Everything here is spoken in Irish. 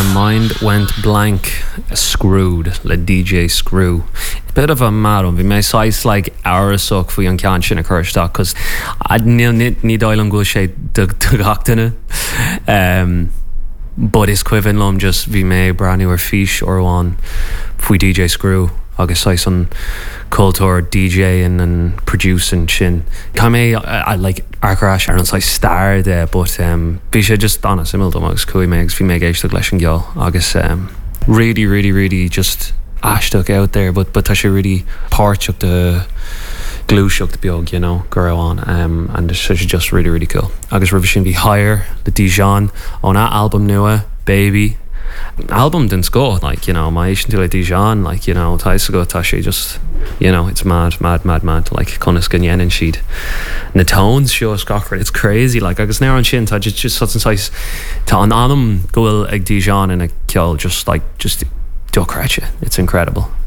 My mind went blank Screwed le DJ Screw. Bit of a mad one, bhí mé saghas like amhrasach faoi an ceann sin a chur isteach cos níl ní dóigh liom go bhfuil sé do gach duine. Um, but is cuimhin liom just bhí mé ag breathnú ar fís uair amháin faoi DJ Screw agus saghas an cultúr DJ and an producing sin. Caithfidh mé like amharc ar ais ar an saghas stair de but um, bhí sé just an-suimiúil dom agus chuaigh mé agus bhí mé ag éisteacht leis an gceol agus um, really really really just aisteach out there but but tá sé really páirteach de gluaiseacht beag you know go raibh ann um, and it's just really really cool. Agus roimhe sin bhí Higher le Dijon óna albam nua Baby. Albam den scoth like you know má éisteann tú le Dijon like you know tá fhios agat tá sé just you know it's mad mad mad mad like conas go ndéanann siad na tones seo is gach rud it's crazy like agus an amhrán sin tá just just an saghas tá an anam go bhfuil ag Dijon ina ceol just like just dochreidte it's incredible.